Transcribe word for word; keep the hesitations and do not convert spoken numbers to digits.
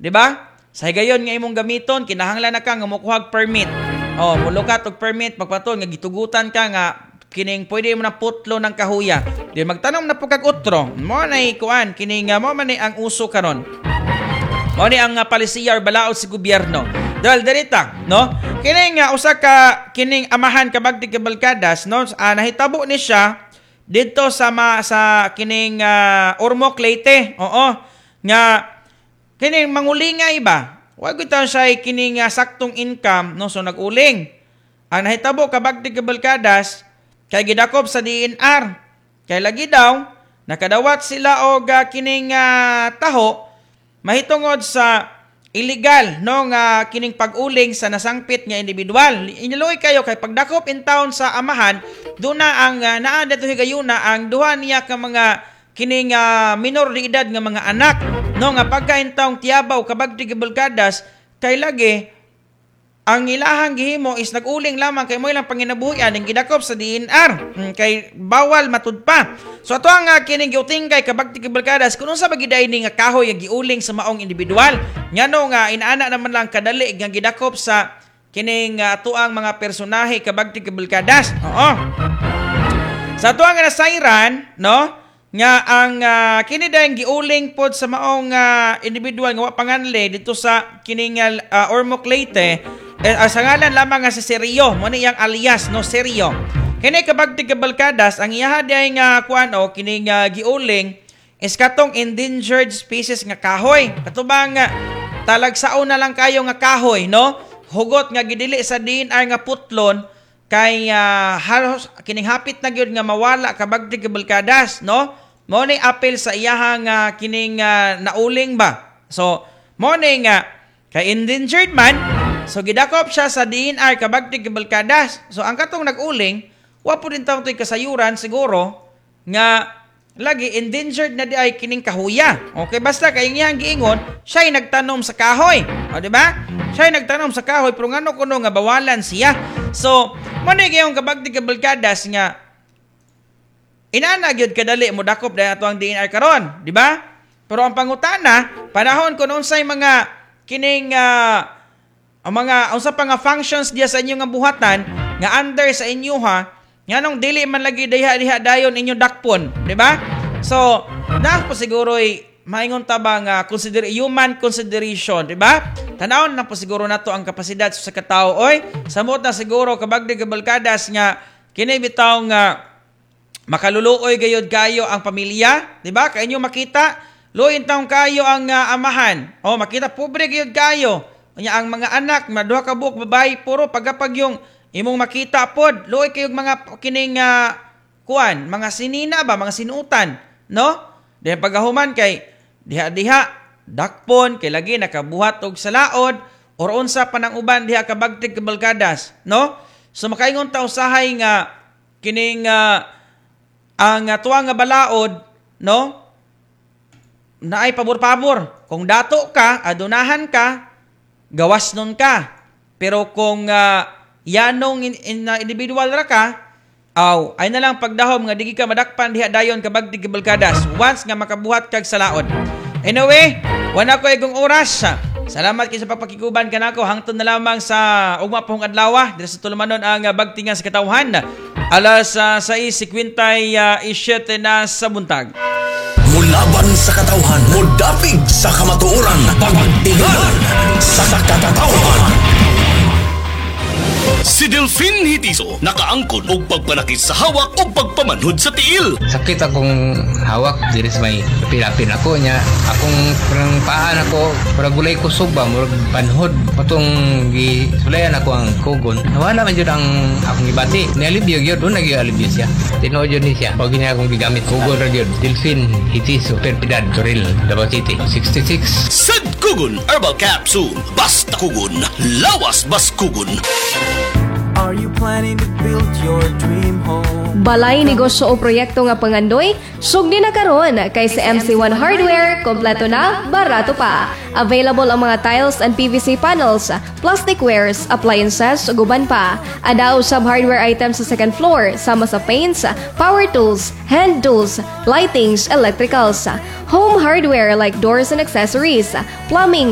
Di ba? Sa higayon nga imong gamiton, kinahanglan na ka nga mokuhag permit. Oh, mulukat og permit pagpatuon nga gitugutan ka nga kining pwede mo na putlo ng kahuya. Di magtanom na po kag utro. Mo na kuan kining uh, mo man ni ang uso karon. Mao ni ang uh, palisiya or balaod sa gobyerno. Dahil dirita, no? Kining uh, usa ka kining amahan kabagti kabalkadas, no? Uh, nahitabo ni siya didto sa ma, sa kining uh, Ormoc Leyte. Oo. Nga kining mangulingay ba? Wa gyud siya kining uh, saktong income, no? So nag-uling. Ang nahitabo kabagti kabalkadas kay gidakop sa D E N R. Kay lagi daw nakadawat sila og uh, kining uh, taho mahitungod sa illegal, no, nga kining pag-uling sa nasangpit nga individual. Iniluoy kayo kay pagdakop in town sa amahan, duna ang uh, naa dito higayuna ang duha niya ka mga kining uh, minor de edad nga mga anak, no, nga pagka in taong tiyabaw kabagti gibulkadas kay lagi ang ilahang gihimo is nag-uling lamang kay mo ilang panginabuhian ang gidakop sa D E N R mm, kay bawal matud pa. So ato ang uh, kining giutingkay kabagti kabalkadas kung unsa ba giday ni nga kahoy nga giuling sa maong individual, ngano nga inaana naman lang kadali nga gidakop sa kining uh, atuang mga personahe kabagti kabalkadas. Oo. Sa atuang nga nasayran, no, nga ang uh, kini dayang giuling pod sa maong uh, individual nga wa panganle dito sa kining uh, Ormoc Leyte eh, uh, sa ngalan lamang nga si Serio mo ni iyang alias, no, Serio. Kini kabagti kabalkadas, ang iyaha diay nga kuan o kining uh, giuling is katong endangered species nga kahoy, katubang uh, talagsaon na lang kayo nga kahoy, no, hugot nga gidili sa D E N R nga putlon kay uh, halos kining hapit na gyud nga mawala kabagti kabalkadas, no. Mo ni apel sa iyahang uh, kining uh, nauling ba. So mo ni nga kay endangered man, so gidakop siya sa D E N R kabagti kabalkadas. So ang katong nag-uling, wa po din taong to'y kasayuran siguro nga lagi endangered na di ay kining kahuya. Okay, basta kay iyang giingon, siya'y nagtanom sa kahoy. O, di ba? Siya'y nagtanom sa kahoy, pero ngano kuno nga bawalan siya? So, mo ni gayong kabagti kabalkadas nga inana gyud kadali mo dakop dahil ato ang D E N R karon, di ba? Pero ang pangutana, panahon kun unsay mga kining uh, ang mga unsa pa nga functions diya sa inyong nga buhatan nga under sa inyo ha, nganong dili man lagi diha diha dayon inyong dakpon, di ba? So, na po siguro maingon ta ba nga consider human consideration, di ba? Tanawon na po siguro nato ang kapasidad sa katao oy. Samot na siguro kabagdi kabalkadas nga kini bitaw nga makaluluoy gayod kayo ang pamilya, di ba? Kay inyo makita, luoy taong kayo ang uh, amahan. O makita pobre gayod kayo. Unya ang mga anak, maduha ka buok babae, puro pagapag yung imong makita pod, luoy kayo mga kining uh, kuan, mga sinina ba, mga sinutan, no? Then pagahuman kay diha-diha dakpon kay lagi nakabuhat og sa laod or unsa pa nang uban diha kabagtig kabalkadas, no? So makaingon ta usahay nga kining uh, ang uh, tuwa nga balaod, no? Naay pabor-pabor. Kung dato ka, adunahan ka, gawas nun ka. Pero kung uh, yanong in, in, uh, individual ra ka, aw, ay na lang pagdahom nga digi ka madakpan diha dayon kabagtig kabalkadas once nga makabuhat kag sa laod. Anyway, wala ko igong oras. Salamat kay sa pagpakiguban kanako hangtod na lamang sa ugma pohong adlaw diri sa tulumanon ang bagtingan sa katawhan alas uh, sais singkwenta y siyete na sa buntag. Mulaban sa katawhan, mudapig sa kamatuoran, pagtingal sa katawhan. Si Delphine Hitiso, nakaangkon og pagpanakit sa hawak o pagpamanhod sa tiil. Sakit akong hawak diri sa may pilapin ako niya. Akong parang paan ako, murag walay kusog ba, murag panhod. Patong gisulayan ako ang kugon. Nawala man jud ang akong gibati. Nialibyo gyud, doon nagyud alibyo siya. Tinuod yun ni siya. Pag niya akong gigamit, kugon ra gyud. Delphine Hitiso, Perpidad, Toril, Davao City. sixty-six. Sad Kugon Herbal Capsule. Basta kugon, lawas bas kugon. Are you planning to build your dream home? Balay, negosyo o proyekto nga pangandoy, sugdi na karon kay sa M C one Hardware, kompleto na, barato pa. Available ang mga tiles and P V C panels, plastic wares, appliances, ug uban pa. Adao sab hardware items sa second floor, sama sa paints, power tools, hand tools, lightings, electricals, home hardware like doors and accessories, plumbing,